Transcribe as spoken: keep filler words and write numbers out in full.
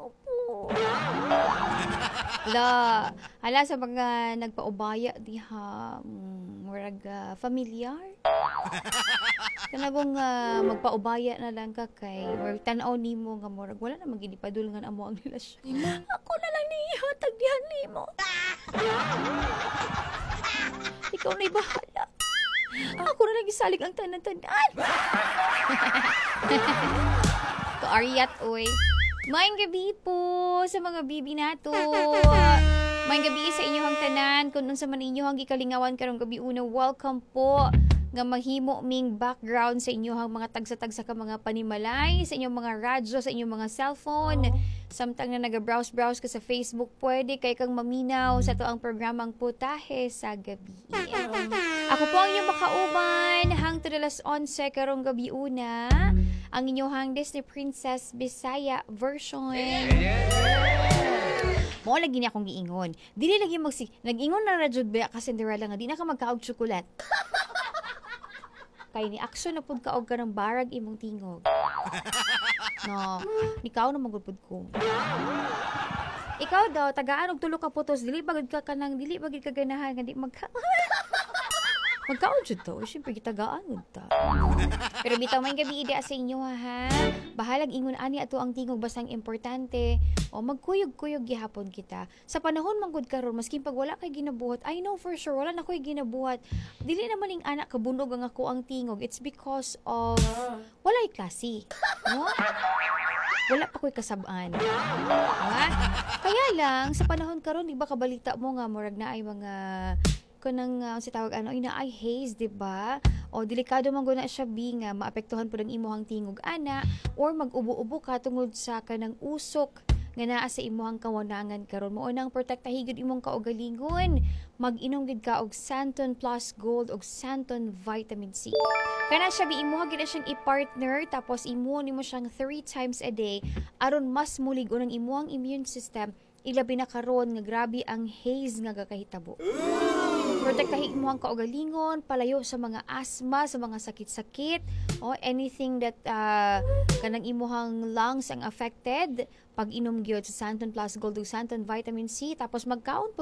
Ginoo po. La, hala sa mga nagpaubaya diha, mm, murag ah, familiar. Kanang uh, magpaubaya na lang ka kay or tan-aw nimo nga murag wala na magid ipadulngan amo ang relasyon. Ako na lang nihatag diha nimo. Ikaw na'y bahala. Ako na lang isalig ang tanan-tanan. Kaariyat, oy. Maayong gabi po sa mga bibi nato. Maayong gabi sa inyong tanan. Kung unsa man inyong gikalingawan karong gabi una, welcome po nga mahimo ming background sa inyong mga tagsa-tagsa ka mga panimalay, sa inyong mga radyo, sa inyong mga cellphone. Samtang na naga-browse-browse ka sa Facebook, pwede kay kang maminaw sa atoang programang Putahe sa Gabi. Ako po ang inyong makauban hangtod alas onse karong gabi una, ang inyong Disney Princess Bisaya version. Mao lagi ni akong giingon. Dili lagi magsi nag-ingon na ra jud ba ka, Cinderella, nga di na ka magkaog tsokolat. Kay ni action na pud ka og kanang barag imong tingog. No, nikaw na magud pud ko. Ikaw daw tagaan og tulo ka putos, dili ba gud ka kanang dili ba gud ka ganahan nga di magka Magkaon jud to, syempre gitagaan gud ta. Pero bitaw, may gabi ida sa inyo ha. Bahalag ingon ani ato ang tingog, basta ang importante o magkuyog-kuyog gihapon kita. Sa panahon man gud karon, maskin pag wala kay ginabuhat, I know for sure wala na koy ginabuhat. Dili naman ing ana kabunog ang ako ang tingog. It's because of walay klase. No? Wala pa ko'y kasab-an. Diba? Kaya lang sa panahon karon, di ba kabalita mo nga murag na ay mga kanang uh, si tawag ano ina ay haze, di ba? O delikado man gud na siya bi nga maapektuhan pud ang imuhang tingog ana or mag-ubo-ubo ka tungod sa kanang usok nga naa sa imuhang kawanangan karon. Mao nang protektahi gyud imong kaugalingon, mag-inom gid ka og Santon Plus Gold og Santon Vitamin C. Kana siya bi, imuha gid na siyang i-partner, tapos imuha nimo siyang three times a day aron mas mulig-on ang imuhang immune system, ilabi na karon nga grabe ang haze nga gakahitabo. Protektahi mo ang kaugalingon, palayo sa mga asthma, sa mga sakit-sakit, o anything that uh, kanang imuhang lungs ang affected, pag inom gyud sa Santon Plus Gold ug Santon Vitamin C, tapos magkaon pud.